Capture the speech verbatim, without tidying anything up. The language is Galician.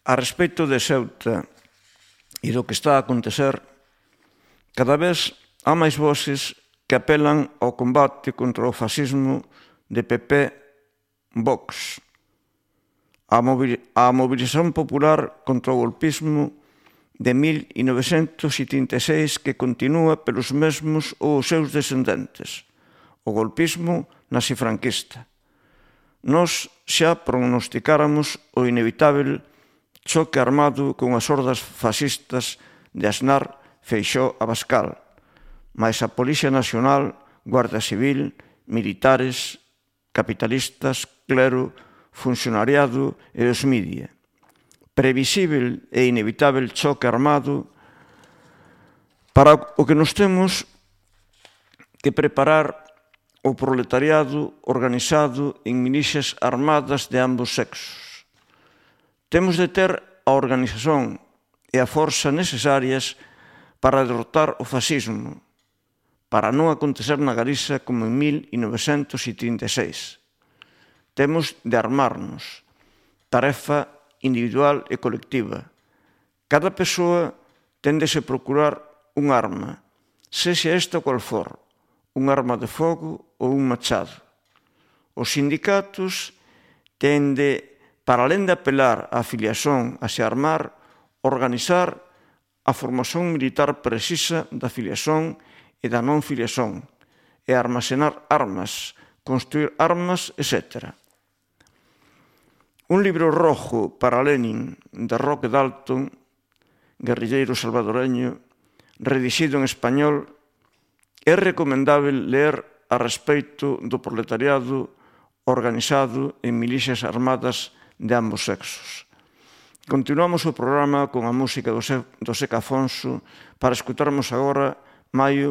A respecto de Ceuta e do que está a acontecer, cada vez há máis voces que apelan ao combate contra o fascismo de P P, Vox, a movilización popular contra o golpismo de mil novecentos setenta e seis que continúa pelos mesmos ou os seus descendentes, o golpismo nazi-franquista. Nós xa prognosticáramos o inevitável choque armado con as hordas fascistas de Aznar, Feixóo, Abascal, máis a Policía Nacional, Guardia Civil, militares, capitalistas, clero, funcionariado e os media. Previsível e inevitável choque armado para o que nos temos que preparar o proletariado organizado en milicias armadas de ambos sexos. Temos de ter a organización e a forza necesarias para derrotar o fascismo, para non acontecer na Galiza como en mil novecentos setenta e seis. Temos de armarnos, tarefa individual e colectiva. Cada persoa ten de se procurar un arma, sexa esta cual for, un arma de fogo ou un machado. Os sindicatos ten de, para alén de apelar á afiliación a se armar, organizar a formación militar precisa da afiliación e da non filiación, e armazenar armas, construir armas, etcétera. Un libro rojo para Lenin de Roque Dalton, guerrilleiro salvadoreño, redixido en español, é recomendável ler a respecto do proletariado organizado en milicias armadas de ambos sexos. Continuamos o programa con a música do Seca Afonso para escutarmos agora Maio